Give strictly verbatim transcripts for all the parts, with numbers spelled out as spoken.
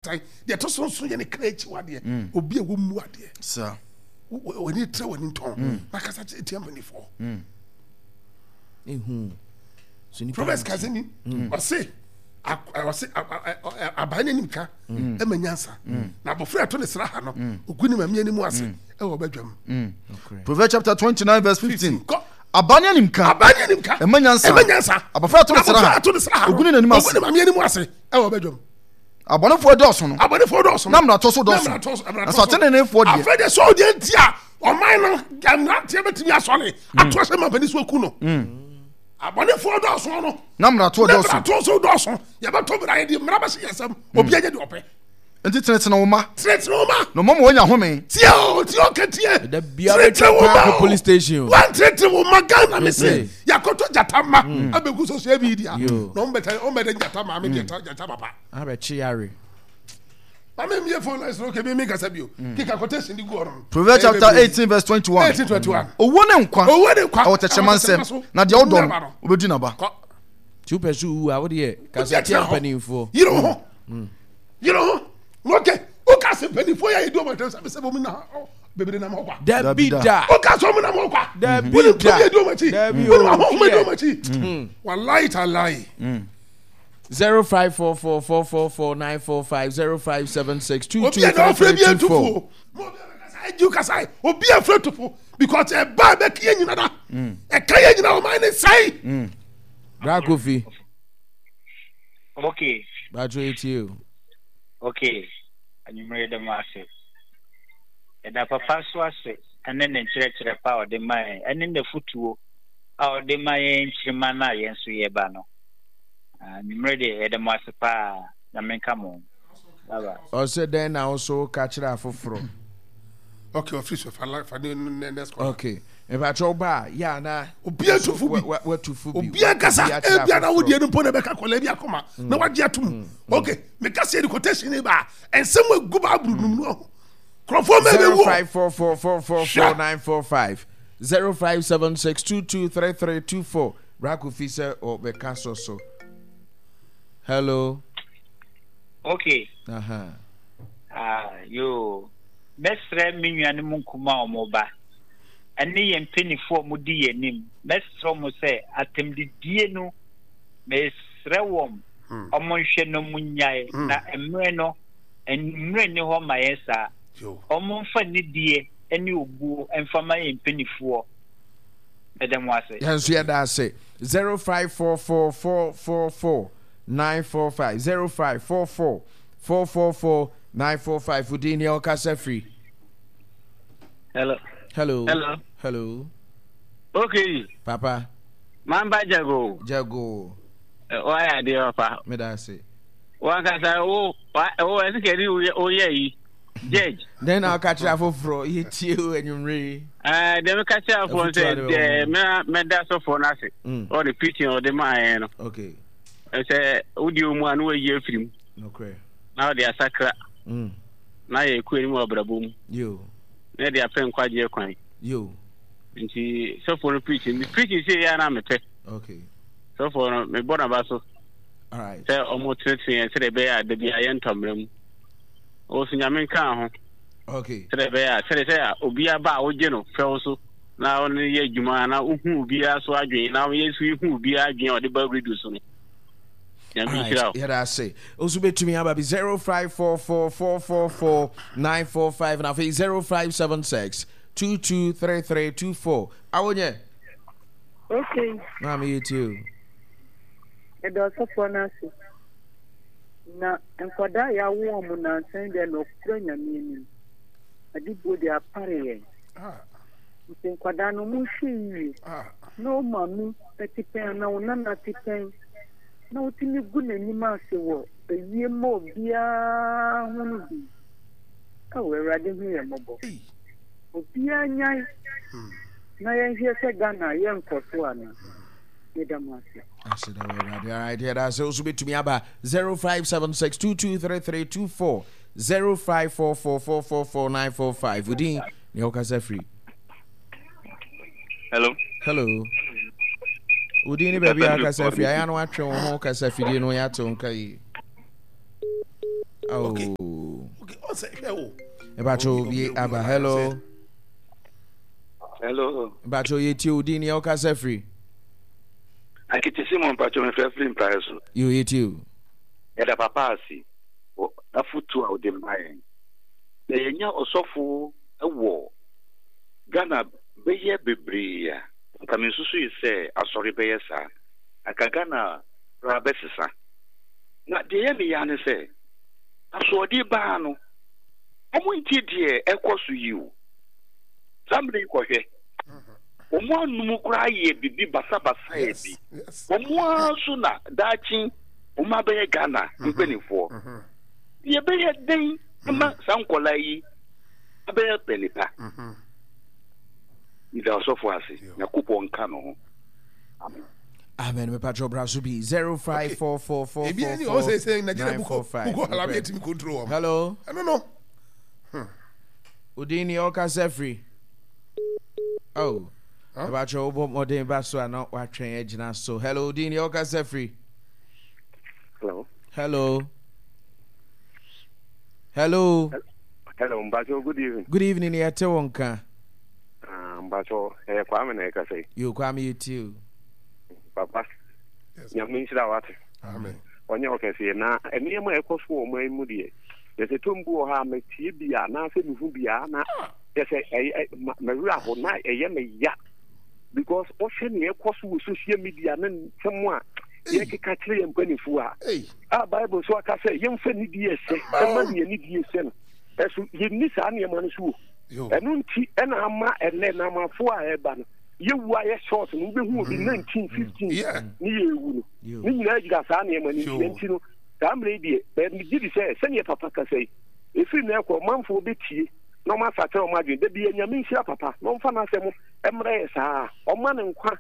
Tan deɛ ɛtɔ so nso yɛ ne kra akyiwadeɛ mm. Obi a wɔmmu adeɛ w'ani trɛ w'ani ntɔn mm. Na kasa kyerɛ tia mpanimfoɔ mm. Proverbs kasa ni ɔse ɔse aban n'anim ka ɛma nyansa na abɔfra ɛto ne sra ha no ogu ne maame anim ase ɛwɔ ɔbɛdwam. Proverbs chapter twenty nine verse fifteen. Aba ne animka. Aba ne animka. Ɛma nyansa. Ɛma nyansa. Abɔfra ɛto ne sra ha. Ɛto ne sra ha. Ogu ne n'anim ase. Ogu ne maame anim ase ɛwɔ ɔbɛdwam. Abɔnefoɔ dɔɔso no. Abɔnefoɔ dɔɔso no. Na mmarato so dɔɔso. Na sɛ ateneneefoɔ deɛ. Afei deɛ sɛ ɔdeɛ nti a ɔman no mmeranteɛ bɛtumi asɔre mm. ato ahyɛ mampanin so aku no. Mm. Abɔnefoɔ dɔɔso no. Na mmarato dɔɔso. Na mmarato so dɔɔso. Yɛbɛto mmara yɛde mmara bɛhyɛ yɛn nsam. Mm. Obi anyɛ deɛ ɔpɛ. Nti tenetene wo mma. Tenetene wo mma. Na ɔma ma wɔnya home. Tie o, tie o ketie. Tenetene wo mma o. Police station. Wɔn tenetene wo mma Ghana mi se. Yakɔtɔ gyata mma mm. abegu social media. Na wɔn bɛtɛ wɔn bɛtɛ gyata maame mm. gyata gyata papa. Abɛkye yare. Maame mi yɛ phone lines okay mi mi kasa bio. Mm. Kika quotation di gu ɔno. Proverbs chapter eighteen verse twenty-one. Eighteen twenty-one. Owó ne nkwa. Owó ne nkwa. Ɛwɔ tɛkyerɛma nsɛm. Na deɛ ɔdɔ no, obedi n'aba. Tí o pɛ so wu a, o deɛ kasa tia mpanimfoɔ. Yiri ho. Yiri ho. Okay. O ka se mpanimfoɔ yɛ a yɛdi wɔn atɛm sɛ sɛ wɔn na bebree nam hɔ kwa. Dabi da. O ka sɛ wɔn nam hɔ kwa. Dabi da. da. Wɔn tumi edi wɔn akyi. Dabi o. Wɔn ahohom edi wɔn akyi. Walayi ta layi. Zero five four four four four four nine four five zero five seven six two two Obi a na three ɔfrɛ three bi two four. etufo. Mo obi a bɛkasa eji kasa yi. Obi a fɛ tufo because ɛba ɛbɛka yɛ nyina da. Ɛka yɛ nyina ɔman ne sɛn. Bra Kofi. Okay. Bàtò etie o. Okay, anwummere yɛda mo ase. Yɛda papa nso ase ne ne nkyerɛkyerɛ pa a ɔde ma yɛn ɛne n'afutuo a ɔde ma yɛn nkyirimma no a yɛn nso yɛba no. Anwummere deɛ yɛda mo ase paa. Nyame nka mo ho. Bye bye. Ɔsɛ dɛn na wo so woka kyerɛ afoforɔ? Okay, ɔfiri so fa fa ne ne next caller. Okay, mepakyɛ wo ba a yɛ a na obi atufo bi watufo bi obi ankasa ebia na wodie no mpo na ɛbɛka kɔla bi akoma na wagye atom. Okay, meka sɛ ɛde quotation ne ba a nsɛm agu Bible no mu no ahu nkurɔfoɔ ma zero ɛbɛwu five four four four four four nine four five zero five seven six two two three three two four. Bra Kofi sɛ ɔbɛka sɔ so. Hello. Okay. Aha. Ah, yoo. Mɛsrɛ me nuanom nkumaa a wɔreba, ɛne yɛn mpanimfoɔ a wɔdi yɛn anim, mɛsrɛ wɔn sɛ atɛmdidie no, mesrɛ wɔn, Hmm. wɔnhwɛ na wɔnnyae, Hmm. na mmerɛ no, mmerɛ nni hɔ ma yɛn saa. Yo. Wɔmfa nidie ne obuo mfa ma yɛn mpanimfoɔ. Meda mo ase. Yɛn nso yɛda ase. Zero five four four four four four nine four five zero five four four four four four nine four five. Wodin nea ɔkasa firi. Hello. Hello. Hello. Hello. Okay. Papa. Mamba Jago. Jago. Why adeɛ papa? Meda ase. Wankasa wo wo ɛsɛ kɛri woyɛ yi judge. Dɛn na ɔka kyerɛ afoforɔ yɛtie o anwummere yi. Ɛɛ deɛ meka kyerɛ afoforɔ sɛ deɛ mɛda sɔfoɔ no ase. Ɔde preaching ɔde maa yɛn no. Okay. Sɛ wodi omu a na wayi afiri mu. Nokorɛ. Na ɔde asakra. Mm. Na yɛ kɔ anim wɔ abrabɔ mu. Yo. Na yɛde apɛ nkwagyeɛ kwan. Yo. Nti sɔfoɔ no preaching preaching sɛ yɛ a na mepɛ. Okay. Sɔfoɔ no mebɔ n'aba so. Alright. Sɛ ɔmo tenetene yɛn sɛdeɛ ɛbɛyɛ a da biara yɛntɔ mmerɛ mu. Ɔwɔ so Nyame nkaa ho. Okay. Sɛdeɛ ɛbɛyɛ a sɛdeɛ sɛ a obiara ba a wogye no fɛw so na ɔne yɛ adwuma na wohu obiara so adwene na yɛ nso yɛhu obiara adwene a ɔde ba radio so no. Nyame nhyira wo. Yɛda ase. Nso bɛtumi aba bi zero five four four four four four nine four five na afei zero five seven six two two three three two four. Awonyɛ. Okay. Maame yɛ tie o. Yɛda ɔsɔfoɔ no ase. Na nkwadaa a yɛawo wɔn nnansa yi deɛ nɔkorɛ Nyame anim, adibuo deɛ apare yɛn. Nti nkwadaa no monhwɛ yie na wo maame te pɛn anaa wo nana te pɛn na wotumi gu n'anim ase wɔ ayie ma obiara ho no bi. Ao Awurade hu yɛn mmɔbɔ. Obiara nyae na yɛnhwɛ sɛ Ghana yɛnkɔ so anaa. Meda mo ase. Aseda wɔ Awurade. Alright, yɛda ase. Wo so bɛtumi aba zero five seven six two two three three two four zero five four four four four four nine four five. Wo din nea wokasa firi. Hello. Hello. Wo din ne baabi a wokasa firi. Ayɛ no atwe wo ho kasa fidie no yɛate wo nka yie. Oh. Okay, ɔsɛ hwɛ o. Mepacho obi aba. Hello. Hello. Mepacho yɛtie wo din ne ɔkasa firi. Akiti Simon mpacho mefrɛ firi mpaeɛ so. Yo yɛtie o. Yɛda papa ase wɔ n'afotu a ɔde ma yɛn. Sɛ yɛnya ɔsɔfo wɔ Ghana bɛyɛ bebree a, anka mensusui sɛ asɔre bɛyɛ saa. Anka Ghana koraa bɛsesa. Na deɛ ɛyɛ me ya ne sɛ, asoɔden baa no, wɔntie deɛ ɛkɔ so yi o. Saa mmerɛ yi kɔhwɛ, wɔn anom koraa yɛ biribi basabasa bi. Wɔn ara nso na daakye wɔn abɛyɛ Ghana mpanimfoɔ. Yɛbɛyɛ dɛn ma saa nkɔlaa yi abɛyɛ panipa? Meda ɔsɔfo ase. Nyankopɔn nka no ho. Amen. Amen. Me patro bra so bi zero five four four four Ebi four ani ɔsɛ four sɛ Nigeria nine Boko four five. Boko Haram yɛ timi control wɔn. Hello. Ɛno no. Hmm. Odin ni ɔkasa firi. Oh. Huh? Me patro wobɔ mmɔden ba so a na watwɛn agyina so. Hello, odin ni ɔkasa firi. Hello. Hello. Hello. Hello, Mbacho, good evening. Good evening, yɛte wo nka. Ah, Mbacho, eh, Kwame na ɛkasa yi. Yo, Kwame yɛtie o. Papa, Nyame nhyira wate. Amen. Ɔnyɛ ɔkɛseɛ na nneɛma a ɛkɔ so wɔ ɔman mu deɛ, yɛsɛ tɔm bi wɔ hɔ a metie bi a anaasɛ mehu bi a na yɛsɛ ɛyɛ mɛwerɛ aho na ɛyɛ me ya because wohwɛ nea ɛkɔ so wɔ social media ne nsɛm a yɛkeka kyerɛ yɛn mpanimfoɔ a a Bible so aka sɛ yɛmfa nidie ɛsɛ ɛma nea nidie sɛ no ɛso yɛnni saa nneɛma no so o ɛno nti ɛna ama ɛnɛ namafoɔ a ɛba no yɛwu ayɛ short no wobɛhu obi nineteen fifteen ne yɛwu no ne nyinaa gyina saa nneɛma no nti nti no saa mmerɛ yi deɛ megye di sɛ sɛdeɛ papa kasa yi ɛfiri na ɛkɔ ɔmanfoɔ bɛtie na ɔma asakyerɛ ɔma adwene da bia Nyame nhyira papa na ɔmfa n'asɛm mmerɛ yɛ saa ɔma ne nkwa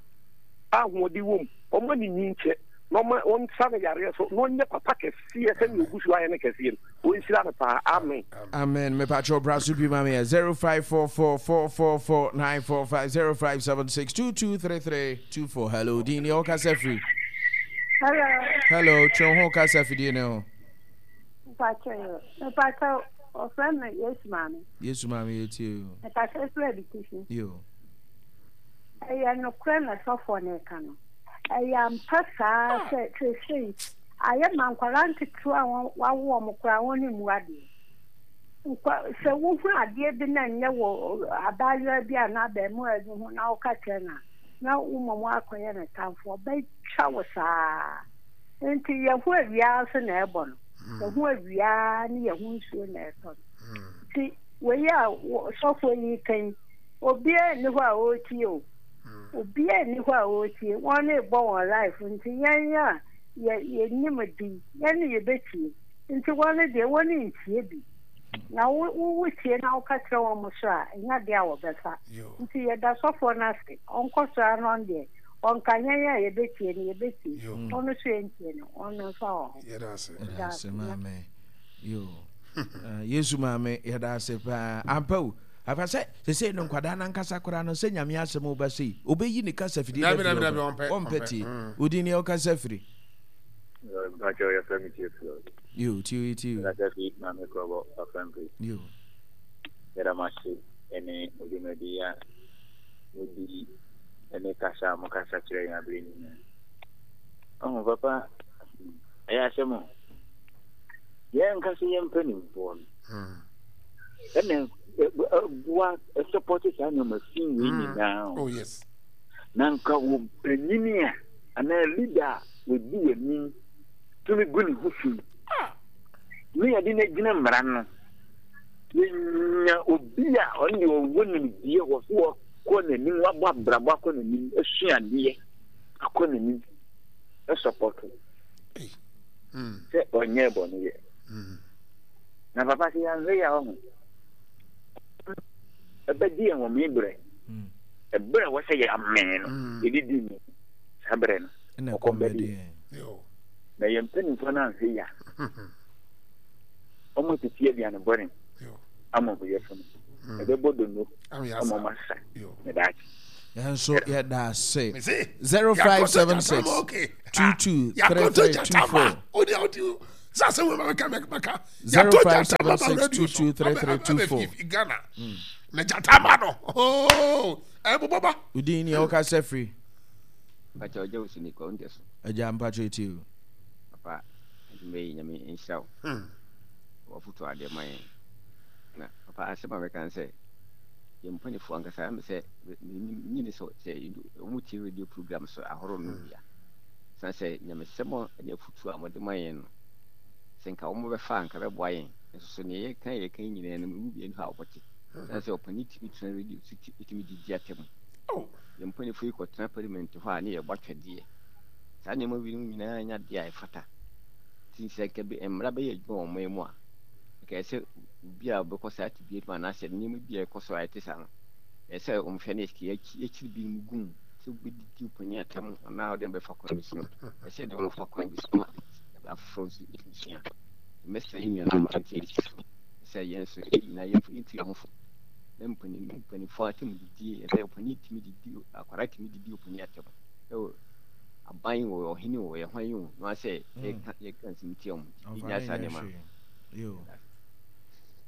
ahoɔden wɔ mu ɔma ne nyi nkyɛ na ɔma ɔnsa no yareɛ so na ɔnyɛ papa kɛseɛ sɛdeɛ ɔgu so ayɛ no kɛseɛ no ɔnhyira no paa. Amen. Amen. Me patro bra so bi ma me zero five four four four four four nine four five zero five seven six two two three three two four. Hello, din ni ɔkasa firi. Hello. Hello, twɛn ho kasa fidie ne ho. Mpakyɛ yo. Mpakyɛ ɔfrɛ me Yesu maame. Yesu maame yɛ tie o. Mpakyɛ efiri Abitifi. Yo. Ɛyɛ nokorɛ na sɔfoɔ no reka no. Ɛyɛ ampa saa sɛ seesei ayɛ ma nkwadaa nketewa a wɔawo wɔn koraa wɔn mmu adeɛ. Nkwa sɛ wohu adeɛ bi na ɛnyɛ wɔ abaayewa bi anaa abarimaa bi ho na woka kyerɛ no a, na wo mmom akɔyɛ ne tamfo. Ɔbɛtwa wo saa. Nti yɛn ho awia nso na ɛbɔ no. Yɛn ho awia ne yɛn ho nsuo na ɛtɔ no. Nti wei a sɔfoɔ yi ka yi, obiara nni hɔ a ɔretie o. Obiara nni hɔ a ɔretie. Wɔn rebɔ wɔn life nti yɛn a yɛ yɛnim di yɛn ne yɛbɛtie. Nti wɔn deɛ wɔn ntie bi. Na wo wo tie na woka kyerɛ wɔn so a ɛnyɛ adeɛ a wɔbɛfa. Nti yɛda sɔfoɔ no ase. Ɔnkɔ so ara na ɔno deɛ ɔnka yɛn a yɛbɛtie no yɛbɛtie. Wɔn nso yɛntie no wɔn mfa wɔn ho. Yɛda ase. Yɛda ase maame. Yo. Yesu maame yɛda ase paa. Ampa o. Afa sɛ sesei no nkwadaa no ankasa koraa no sɛ Nyame asɛm woba sei obeyi ne kasa fidie no afiri hɔ ɔmpɛ tie odin ne ɔkasa firi. Mpakyɛ yɛfrɛ me Theophilus. Yo Theo yi Theo. Kasa fi Maame Krɔbɔ Aframpre. Yo. Yɛda mo ase ɛne mo dwumadi a modi ɛne kasa a mokasa kyerɛ yɛn abere nyinaa. Ɔho papa ɛyɛ asɛm o. Yɛn nkasa yɛn mpanimfoɔ no. Ɛna boa sɔpɔte saa nneɛma fi wei nyinaa. Oh yes. Na nka wo panyini a anaa leader a wɔdi w'anim tumi gu ne ho fi ne yɛde no agyina mmara no yɛnya obi a ɔno deɛ ɔwɔ nimdeɛ wɔ so wɔkɔ n'anim wabɔ abrabɔ akɔ n'anim asua adeɛ akɔ n'anim ɛsɔpɔto sɛ ɔnyɛ bɔne yɛ. Na papa sɛ yɛanhwɛ yɛ a ɔho ɛbɛdi yɛn wɔn berɛ ɛberɛ a wɔsɛ yɛ amee no yɛdidi mu saa berɛ no ɔkɔm bɛdi yɛn na yɛn mpanimfoɔ no anhwɛ yɛ a wɔn tete aduane bɔne ama wɔn yɛfo no ɛbɛbɔ dono ama wɔn asa ne daakye. Yɛn nso yɛda ase. Zero five seven six two two three three two four. Zero five seven six two two three three two four. Ghana. Na gyatama no. Oh, ɛbobɔ ba. Udin ni ɛwɔ kasa firi. Mpakyɛ ɔgya osu ni kɔ ntɛ so. Ɛgya mpakyɛ eti o. Papa, adwuma yi Nyame nhyira wo. Wafotu adeɛ ma yɛn. Na papa asɛm a mɛka ne sɛ yɛn mpanimfoɔ ankasa ɛmɛ sɛ menyini sɛ sɛ wɔn tie radio program so ahorow no bia. San sɛ nyamesɛm ne afotu a wɔde ma yɛn no sɛ nka wɔn bɛfa a nka bɛboa yɛn. Nso so nea yɛka yɛka nyinaa no mu bi ɛnu hɔ a wɔte. San sɛ ɔpanin tumi tena radio so tumi didi atɛm. Yɛn mpanimfoɔ yi kɔtena parliament hɔ a ne yɛbɔ atwɛdeɛ. Saa nneɛma weinom nyinaa nyɛ adeɛ a ɛfata. Nti sɛ nka bi mmara bɛyɛ adwuma wɔ ɔman mu a, nka ɛsɛ sɛ obi a ɔbɛkɔ saa tebea no mu anaasɛ nneɛma bi a ɛkɔ so a ɛte saa no, ɛsɛ sɛ wɔhwɛ ne yɛkyiri binom gu mu sɛ wobɛdidi ɔpanin atɛm anaa wode no bɛfa kwan bi so no, ɛsɛ sɛ yɛde wɔn fa kwan bi so ma afoforɔ nso sua. Mɛsrɛ yɛn nuanom mmeranteɛ sɛ yɛn nso yɛn nyinaa yɛntu yɛn ho fo na mpanimfoɔ atɛm didie, ɛsɛ ɔpanin tumi didi, akwadaa tumi didi ɔpanin atɛm. Ɛwɔ aban o, ɔhene o, ɛyɛ hwan o, na sɛ yɛka yɛka nsɛm tia wɔn, yɛnya saa nneɛma no.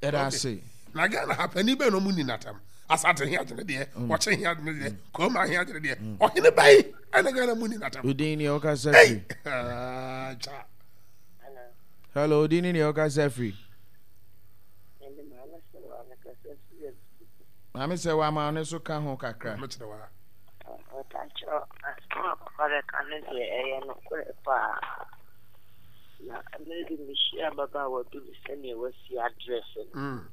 Yɛda ase. Na Ghana ha panin bɛn na ɔmo ni n'atam? Asante he agyene deɛ, mm. ɔkye he agyene deɛ, mm. kuroma he agyene deɛ, mm. ɔhene bɛn ɛna Ghana mu ni n'atam? Odin ni ɔkasa firi. Ah, Hello, odin ni ɔkasa firi. Maame sɛ wa ma ɔne so ka ho kakra. Maame kyerɛ wa. Mpakyɛw, asɛm a papa reka no deɛ ɛyɛ nokorɛ paa. Na mmerɛ bi mehyia ababaawa bi ne sɛdeɛ wasi adrɛse no, mm.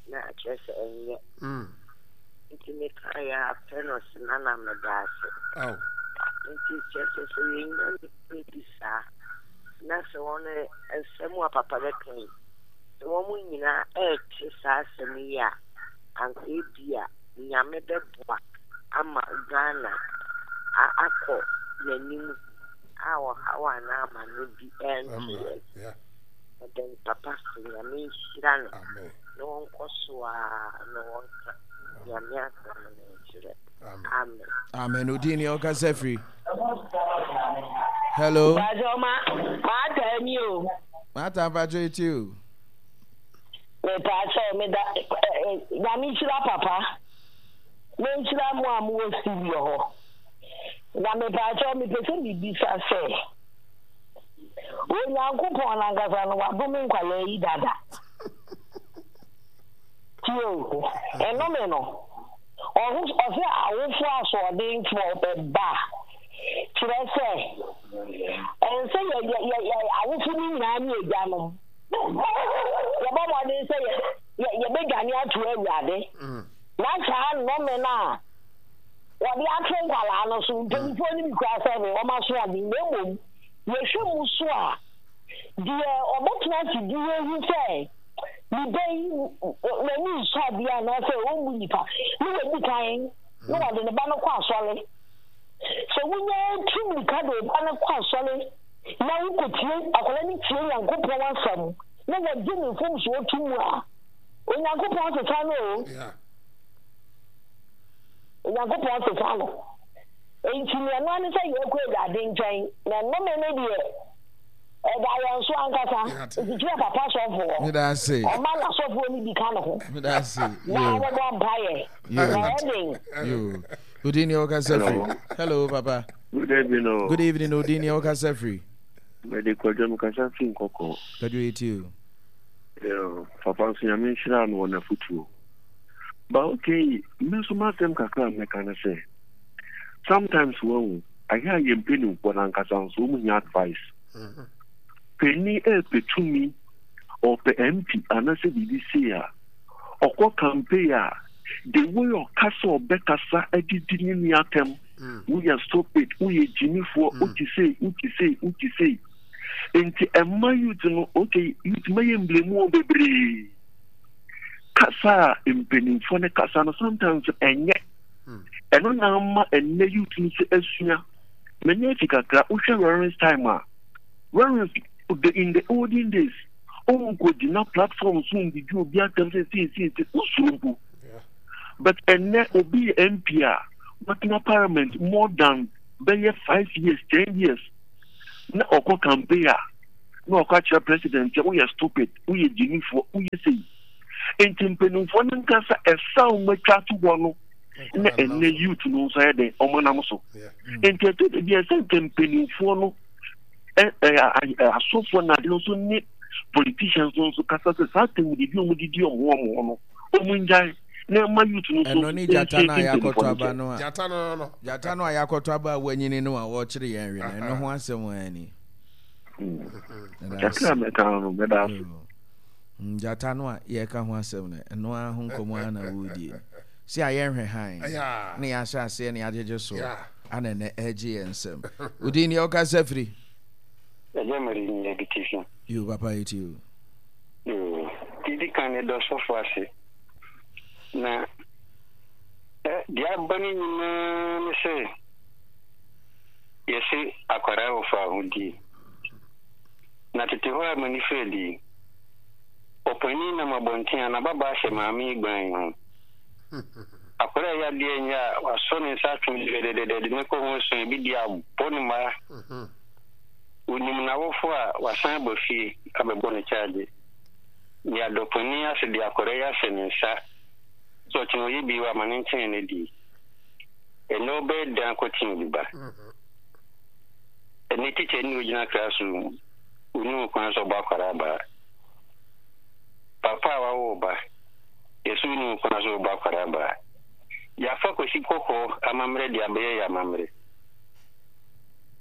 na kyerɛ sɛ ɛnyɛ. Mm. Nti mekaeɛ a pɛ no ɔse na na meda ase. Nti kyerɛ sɛ sɛ yɛnya nnipa bi saa na sɛ wɔn nsɛm a papa bɛka yi, sɛ wɔn nyinaa ɛrete saa asɛm yi a, anka ebia Nyame bɛboa ama Ghana a akɔ n'anim a ɔhaw anaa amane bi ɛnto yɛn. Ɔdɛn papa so Nyame nhyira no na ɔnkɔ so ara na ɔnka Nyame asɛm no nkyerɛ. Amen. Amen. Odin ni ɔkasa firi. Hello. Mpatsɔ ma maata ni o. Maata mpatsɔ eti o. Mepaakyɛw meda Nyame nhyira papa na ɔnhyira mo a mowɔ studio hɔ. Na mepaakyɛw mepɛ sɛ mebisa sɛ Onyankopɔn nankasa no wadome nkwalaa yi dada. Tie o, ɛnome no ɔho ɔsɛ awofo asoɔdenfoɔ bɛba kyerɛ sɛ ɛnsɛ yɛ yɛ yɛ awofo no nyinaa ne agyanom Yɛbɔ mmɔden sɛ yɛbɛdwane ato Awurade, na saa nnome no a wɔde ato nkwadaa no so, mpanimfoɔ no bi koraa sɛ ne wɔn asoɔden, na mmom yɛhwɛ mu so a, deɛ ɔbɛtena ase di ehu sɛ ne ba yi n'ani nsɔ adeɛ anaasɛ ɔmmu nipa, ne wadi kan na wɔde ne ba no kɔ asɔre. Sɛ wonya tu mmirika de wo ba no kɔ asɔre na wokɔtie akwadaa no tie Nyankopɔn asɛm na wɔgye ne mfomsoɔ to mu a, Onyankopɔn sesa no o. Onyankopɔn sesa no. Enti nea ɛno ne sɛ yɛkɔ Awurade nkyɛn, na nnome no deɛ ɛda yɛn so ankasa. Nti kyerɛ papa sɔfoɔ, ɔma n'asɔfoɔ no bi ka ne ho na wɔbɔ mpaeɛ na ɛden. Odin ni ɔkasa firi. Hello papa. Good evening o. Good evening Odin ni ɔkasa firi. Mede Kwadwo mekasa firi Nkɔkɔ. Kwadwo yɛ tie o. Yo, papa nso Nyame nhyira no wɔ n'afotuo. Ba okay, me nso m'asɛm kakra a mɛka ne sɛ, sometimes wahu, ayɛ a yɛn mpanimfoɔ no ankasa nso wɔn hia advice. Mm-hmm. Panin ɛɛpɛ tumi, ɔpɛ M P anaasɛ biribi sei a, ɔkɔ campaign a, the way ɔkasa ɔbɛkasa adidi ne nua atɛm. Woyɛ stupid, woyɛ gyimifoɔ, wote sei, wote sei, wote sei. Nti ɛmma youth no, okay, youth ma yɛ mblemu wɔn bebree. Kasa a mpanimfoɔ no kasa no sometimes ɛnyɛ. Ɛno na ama ɛnnɛ youth no sɛ asua. M'ani akyi kakra, wohwɛ Lawrence time a, Lawrence the, in the olden days, ɔnkɔgyina platform so ndidi obi atɛm sɛ sei sei sei, wosuro mpo. But ɛnnɛ obi yɛ M P a, Watena parliament more than bɛyɛ five years, ten years na ɔkɔ campaign a na ɔkɔ akyerɛ president sɛ woyɛ stupid, woyɛ gyimifoɔ, woyɛ sei. Nti mpanimfoɔ no nkasa ɛsa a wɔatwa ato hɔ no na ɛnɛ youth no nso ayɛ dɛn wɔn nam so. Nti ɛtɔ da bi a ɛsɛ nka mpanimfoɔ no asɔfoɔ na ade nso ne politicians no nso kasa sɛ saa tɛmudi bi a wɔde di wɔn ho wɔn ho no wɔn ngyae na ɛma youth no nso ɛno ne gyata no a yɛakɔtɔ aba no a gyata no no gyata no a yɛakɔtɔ aba a wanyini no a wɔrekyere yɛn we no ɛno ho asɛm ani kakra mɛka no mɛda ase mm, gyata no a yɛka ho asɛm no ɛno ara ho nkɔmmɔ a na wɔredie sɛ a yɛnhwɛ hann na yɛahyɛ aseɛ na yɛagyegye so ana ɛnɛ ɛregye yɛn nsɛm wodin deɛ wokasa firi ɛyɛ mmerɛ nyɛ bi ti fi yo papa yɛti o Yoo, deɛ ɛdi kan no yɛda ɔsɔfo ase. Na ɛ deɛ aba no nyinaa ne sɛ yɛse akwadaa wɔ faahodie. Na tete hɔ a m'ani firi adi yi, ɔpanin nam abɔnten a n'ababaa hyɛ maame yi guan ho. Akwadaa a ɛyɛ adeɛ nyɛ a wasɔ ne nsa atwe dɛdɛdɛdɛ de ne kɔ ho asu ebi de abɔ ne mmaa. Onim n'awofo a wasan aba fie abɛbɔ no kyaagye. De adɔ panin ase de akwadaa yi ahyɛ ne nsa sɛ ɔkyena ɔyɛ bio a ma ne nkyɛn no adi. Ɛnnɛ ɔbɛyɛ dɛn akɔte obi ba? Ɛnnɛ tikya ni ogyina classroom onni ho kwan sɛ ɔbɔ akwadaa abaa. Papa a wawo wo ba, yɛse onni ho kwan sɛ ɔbɔ akwadaa abaa. Yɛafa Kwasi Kɔkɔɔ amammerɛ de abɛyɛ yɛn amammerɛ.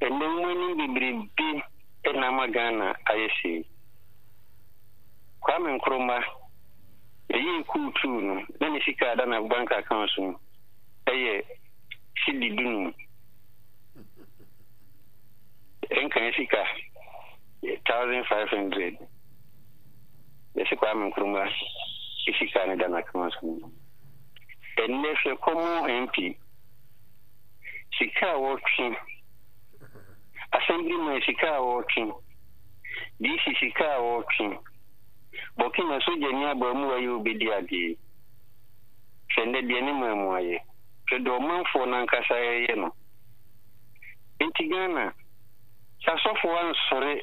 Ɛnnɛ nwomanim bebrebe na ama Ghana ayɛ sei. Kwame Nkrumah, yɛyɛɛ coup tuu no, na ne sika a ɛda na bank accounts mu yɛ cedi dunum. Ɛnkan sika thousand five hundred. Yɛse Kwame Nkrumah sika no da n'accounts mu. Ɛnnɛ hwɛ kɔmɔ M P sika a wɔtwe, Assemblyman sika a wɔtwe, D C sika a wɔtwe, Burkina sogyani abaamuwa yi obedi adeɛ. Hwɛ nnɛ deɛ ne man mu ayɛ. Hwɛ deɛ ɔmanfoɔ no ankasa reyɛ no. Enti Ghana, sɛ asɔfoɔ ansɔre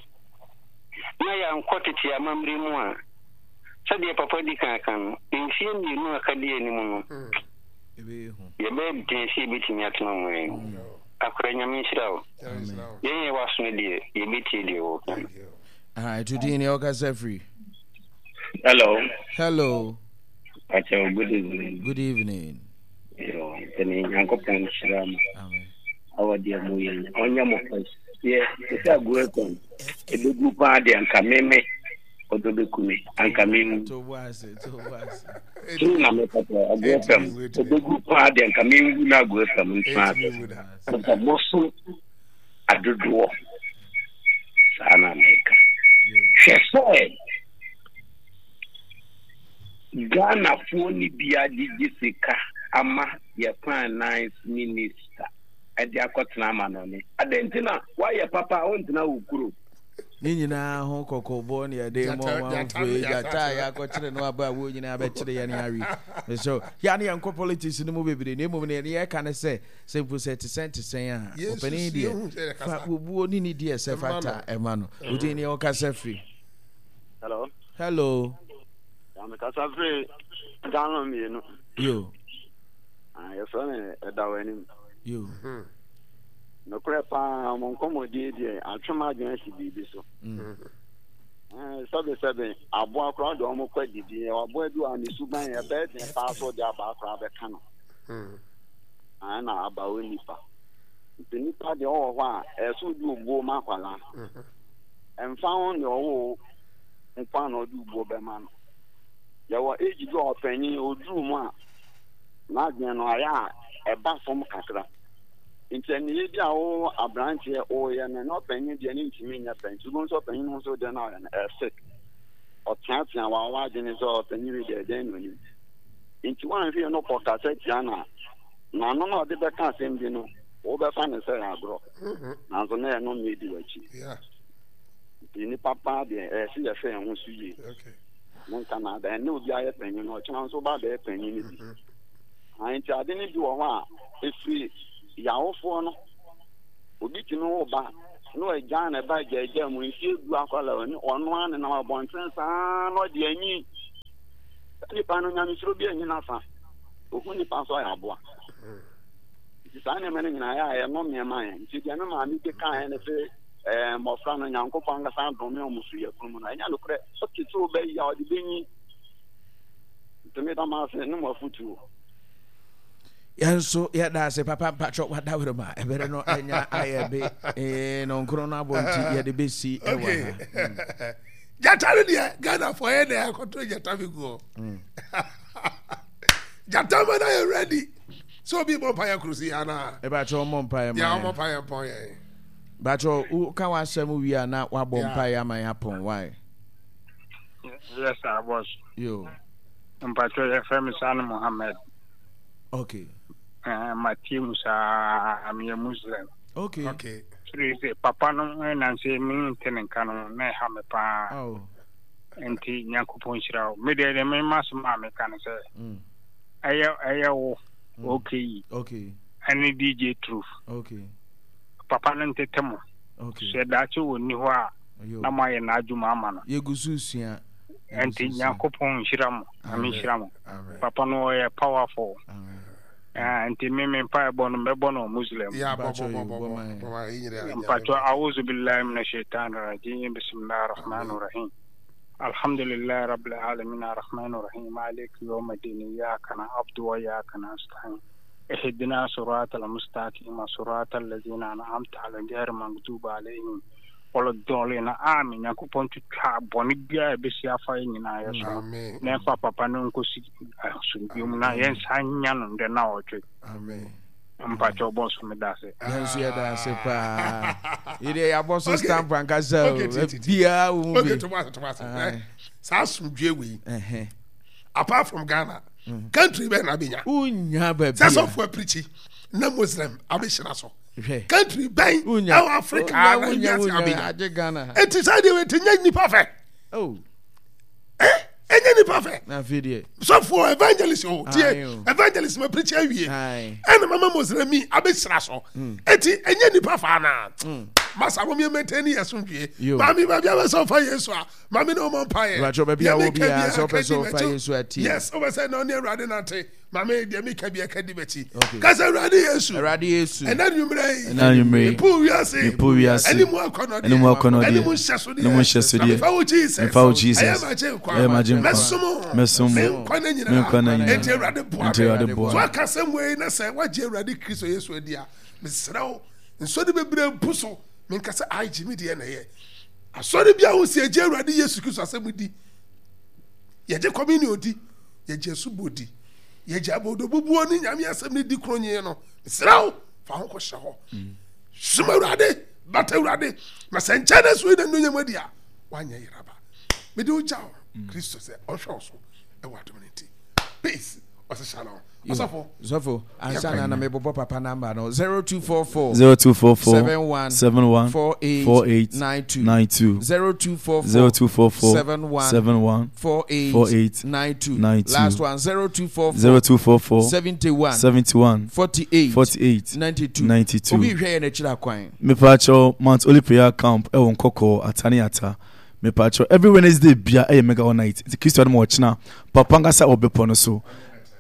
na yɛankɔ tete amammerɛ mu a, sɛdeɛ papa di kan aka no, mfeɛ mmienu a aka di anim no, yɛbɛyɛ den sɛ yɛbɛtumi atena ɔman yi mu. Akora, Nyame nhyira wo. Yɛn yɛ w'asono deɛ, yɛbɛtie deɛ wɔka no. Ah, ɛto din deɛ ɔkasa firi. Hello. Hello. Pacho, good evening. Good evening. Yo, ntɛni Nyankopɔn nhyira mo. Amen. Awɔ deɛ mo yɛ ɔnyɛ mo kɛseɛ te sɛ agoa kwan. Ebegu paa deɛ anka meme ɔdɔ bɛku me anka menwu. To bo ase, to bo ase. True na me papa agoa fam. Ebegu paa deɛ anka menwu na agoa fam ntena ase. Papa mo so adodoɔ saa na meka. Hwɛ sɛ Ghanafoɔ ne bi agyegye sika ama yɛ finance minister de akɔtena amanɔne. Adɛn nti na woayɛ papa a wontena wo kurom? Ne nyinaa ho kɔkɔbɔ ne yɛde mɔ ɔmanfoɔ yi gyata a yɛakɔkyere no aba a wɔn nyinaa bɛkyere yɛn awe. So yɛa ne yɛnkɔ politics no mu bebree na mmom ne yɛka ne sɛ sɛ mpo sɛ te sɛn te sɛn a ɔpanin deɛ fa wobuo ne ne deɛ sɛ fata ɛma no. Wodin ne ɔkasa firi. Hello. Hello. Mekasa firi Ghana mmienu. Yo. Ah, yɛfrɛ me ɛda w'anim. Yo. Hmm. Nokorɛ paa mo nkɔmmɔdie deɛ atwe m'adwene asi biribi so. Mm. Eh, sɛbesɛbe aboa koraa de wɔn kɔ adidi aboa bi wɔ a ne suban yɛ bɛyɛ den paa so ɔde abaa koraa bɛka no. Hmm. Ah, na aba wɔ nipa. Nti nipa deɛ ɔwɔ hɔ a ɛsɛ ɔde obuo ma akwadaa. Hmm. Ɛmfa ho deɛ ɔwɔ nko a na ɔde obuo bɛma no. Yɛwɔ age bi a ɔpanyin ɔduru mu a n'adwene no ayɛ a ɛba fam kakra. Nti nneyɛe bi a wo aberanteɛ woyɛ no ne ɔpanyin deɛ no ntumi nyɛ pɛ. Nti wobɛhu sɛ ɔpanyin ho sɛ wodeɛ no a ɔyɛ no ɛyɛ sick. Ɔteatea wa w'adwene sɛ ɔpanyin wei deɛ ɛdɛn na onim. Nti woanhwɛ yie no kɔ kasa tia no a, n'ano no a ɔde bɛka asɛm bi no wobɛfa no sɛ ɛyɛ agorɔ. Nanso na ɛno na ɛdi w'akyi. Nti nnipa paa deɛ ɛyɛ sɛ yɛhwɛ yɛn ho so yie. Menka na ada ɛnnɛ obiara yɛ panyin no ɔkyena nso woba abɛyɛ panyin no bi. Nti ade no bi wɔ hɔ a, ɛfiri yɛn awofoɔ no. Obi tumi wo ba na wagyaa ne ba agyaagyaa mu mfeɛ du akwadaa ɔne ɔno ara nenam abɔnten saa na ɔde anyi. Saa nipa no nyamesuro bi anyi n'afa. Ohu nipa nso ɔyɛ aboa. Nti saa nneɛma no nyinaa yɛ a ɛno nneɛma yɛn. Nti deɛ me maame bi kaeɛ ne sɛ ɛɛ mmɔfra no Nyankopɔn ankasa adome wɔn so yafunu mu no ɛnyɛ nokorɛ. Ɔte sɛ ɔbɛyi a ɔde bɛnyi. Nti meda mo ase ne mo afotuo. Yɛn nso yɛda ase papa mpakyɛ wadaworo ma ɛbɛrɛ no anya ayɛ be ee nɔnkron no abɔ nti yɛde bɛsi ɛwɔ ha. Hmm. Gyata no deɛ Ghanafoɔ yɛ dɛ akɔto gyata bi guɔ. Hmm. Gyata ma no ayɛ ready. Sɛ obi bɔ mpaeɛ koro si anaa. Ɛbɛkyɛ ɔmmɔ mpaeɛ ma yɛn. Yɛ ɔmmɔ mpaeɛ mpɔn yɛn. Bàtchɛ woka w'asɛm wie a na wabɔ mpaeɛ ama yɛn apɔn why. Yes sir boss. Yo. Mpakyɛ yɛfrɛ me Sani Mohammed. Okay. Uh, matie mu saa meyɛ Muslim. Okay. Okay. Firi sɛ papa no nanse me nte ne nka no na ɛha me paa. Oh. Nti Nyankopɔn nhyira wo. Me deɛ deɛ me ma so maa meka no sɛ mm. ɛyɛ ɛyɛ wo mm. okay yi. Okay. Ɛne D J Truth. Okay. Papa no ntete mo. Okay. Sɛ daakye wɔ nni hɔ a na moayɛ n'adwuma ama no. Yɛgu so sua. Nti Nyankopɔn nhyira mo. Nyame nhyira mo. Papa no ɔyɛ powerful. Ah, nti me me mpaebɔ no mɛbɔ no Muslim. Yeah, bɔ bɔ bɔ bɔ bɔ bɔ. Mpacho a'udhu billahi minash shaitani rajim. Bismillahir rahmanir rahim. Alhamdulillahi rabbil alamin arrahmanir rahim maliki yawmiddin iyyaka na'budu wa iyyaka nasta'in. اهدنا صراط المستقيم صراط الذين أنعمت عليهم غير المغضوب عليهم ولا الضالين آمين. Nyankopɔn twitwa bɔne biara a ɛbɛsi afa yɛn nyinaa yɛ so na ɛmfa papa no nkɔsi asomdwoe mu na yɛnsa nya no ndɛ na ɔtwe. Mpakyɛ ɔbɔ so meda ase. Yɛn nso yɛda ase paa. Yɛdeɛ yɛabɔ so stamp ankasa o. Biara wɔ mu bi. Okay, Tomase, Tomase. Saa asomdwoe wei. Apart from Ghana, mm. country bɛn na abɛnya? Wonya baabi. Sɛ sɔfo apirikyi na Muslim abɛhyira so. Country bɛn ɛwɔ Africa na wiase abɛnya? Eti saa deɛ eti nyɛ nipa fɛ. Oh. Eh, ɛnyɛ nipa fɛ. Na afei deɛ. Sɔfo evangelist o tie evangelist ma pirikyi awie. Ɛna mama Muslim abɛhyira so. Mm. Eti ɛnyɛ nipa fɛ anaa? Mm. Masa wɔn yɛ maintain yɛ asomdwie. Maame baabi a bɛ sɛ ɔfa Yesu a. Maame ne ɔmɔ mpa yɛ. Ìbàtí ọbẹ bi a wọ bi a sẹ ọpẹ sẹ ọfa Yesu ati. Yes, ọbẹ sẹ na ọne Awurade nante. Maame deɛ mi ka bi ɛka di bɛkyi. Kasa Awurade Yesu. Awurade Yesu. Ɛna nwummerɛ yi. Ɛna nwummerɛ yi. Mepo wiase. Mepo wiase. Ɛne mu akɔnɔdeɛ. Ɛne mu akɔnɔdeɛ. Ɛne mu nhyɛsodeɛ. Ɛne mu nhyɛsodeɛ. Na mefa wo Jesus. Mefa wo Jesus. Ɛyɛ m'agye nkwa. Ɛyɛ m'agye nkwa. Mɛsom. Mɛsom. Me nkwa na nyinaa. Me nkwa na nyinaa. Enti Awurade boa me. Enti Awurade boa me. So aka sɛm wei na sɛ wagye Awurade Kristo Yesu adi a, mesrɛ wo, nsɔre bebree mpo so, menka sɛ I G me deɛ na ɛyɛ. Asɔre bi a ho si yɛgye Awurade Yesu Kristo asɛm di, yɛgye communion di, yɛgye asubɔ di, yɛgye abɔdɔbubuo ne Nyame asɛm no di kronye no, mesrɛ wo, fa ho kɔhyɛ hɔ. Mm. Som Awurade, bata Awurade, na sɛ nkyɛn na so yi na nnuonyam adi a, woanyɛ yeraba. Mede wo gya wo, mm. Kristo sɛ ɔhwɛ wo so ɛwɔ adom no nti. Peace. Ɔsɛ shalom. Ɔsɔfo. Sɔfo, ansa na na mebobɔ papa namba no zero two four four zero two four four seven one seven one four eight four eight nine two nine two zero two four four zero two four four seven one seven one four eight four eight nine two nine two last one zero two four four zero two four four seventy one seventy one forty eight forty eight ninety two ninety two. Obi hwɛ yɛn akyiri akwan. Mepaakyɛw Mount Olive Prayer Camp ɛwɔ Nkɔkɔɔ Atane Ata. Mepaakyɛw every Wednesday bia ɛyɛ mega all night nti Kristo adom ɔkyena papa nkasa wɔ bepɔ no so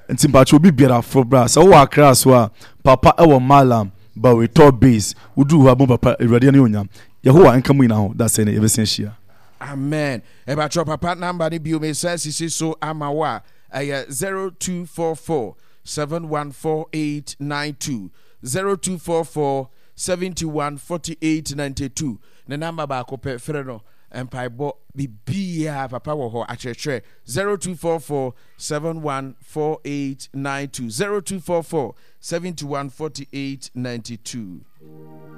nti mpaakyɛw obi biara foro bra sɛ wowɔ Accra so a papa ɛwɔ Malam Bawe Tor base woduru hɔ a mo papa Awurade ne onyam Yehowa nka mo nyinaa ho da sɛ ne yɛbɛsan ahyia. Amen. Ɛbɛkyerɛ papa number no bio mesan sisi so ama wo a ɛyɛ zero two four four seven one four eight nine two zero two four four seventy one forty eight ninety two ne number baako pɛ frɛ no mpaebɔ biribiara papa wɔ hɔ akyerɛkyerɛ zero two four four seven one four eight nine two zero two four four seventy one forty eight ninety two.